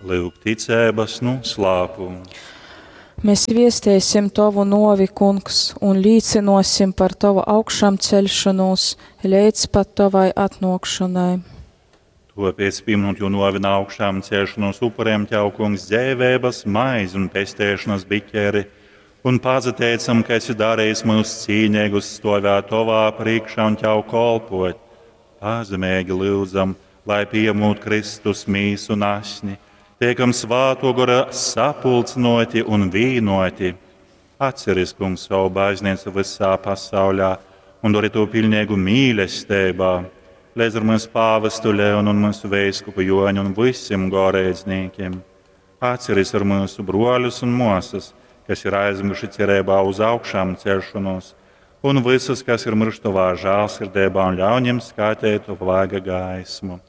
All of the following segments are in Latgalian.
Lyuk ticeibas nūslāpums. Mēs viesteisim Tovu nōvi, Kungs, un līcynōsim par Tovu augšamceļšonūs leidz pat Tovai atnōkšonai. Tōpēc, pīminūt Jō nōvi un augšāmceļšanos, upurējam Tev, Kungs, dzeiveibas maizi un pesteišanas biķeri, un pasateicam, ka esi darījis mūs cīneigus stovēt Tovā priekšā un Tev kolpot. Pazemeigi lyudzam, lai pījemūt Kristus mīsu un asni, tiekam Svāto Gora sapulcynoti un vīnoti. Atceries, Kungs, savu baznīcu visā pasaulē un dori to pilnīgu mīlestībā, līdz ar mūsu pāvestu Leonu un mūsu veiskupu Joņu un visiem goreidznīkiem. Atceries ar mūsu broļus un māsas, kas ir aizmiruši cerībā uz augšām celšanos, un visus, kas ir miruši tavā žēlsirdībā un ļauj viņiem skatīt tavu vaiga gaismu.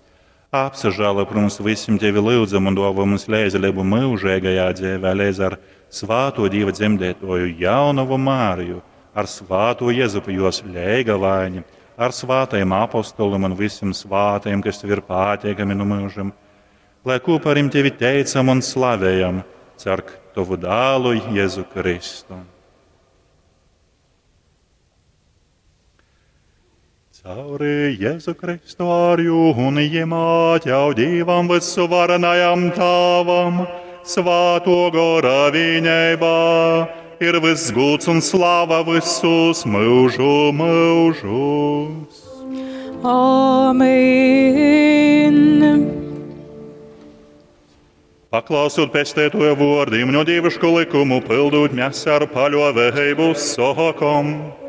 Apsažēlo par mums visiem tevi lūdzam un dāvā mums līdzdalību mūžīgajā dzīvē, līdz ar svāto Dieva dzemdētoju jaunavu Māriju, ar svāto Jēzupu jos leigavaini, ar svātajiem apostoliem un visiem svātajiem, kas tev ir pateikami no mūžam, lai kopā ar tevi teicam un slavējam, cer tavu dēlu Jēzu Kristu. Cauri Jēzu Kristu ar jū un jemā Tev Dievam visuvarenajam Tāvam, Svāto Gora vienībā, ir viss gods un slava visus mūžu mūžus. Amen. Paklausot pestētoja vārdiem no dievišku likumu, pildot mēs ar paļāvību sākam.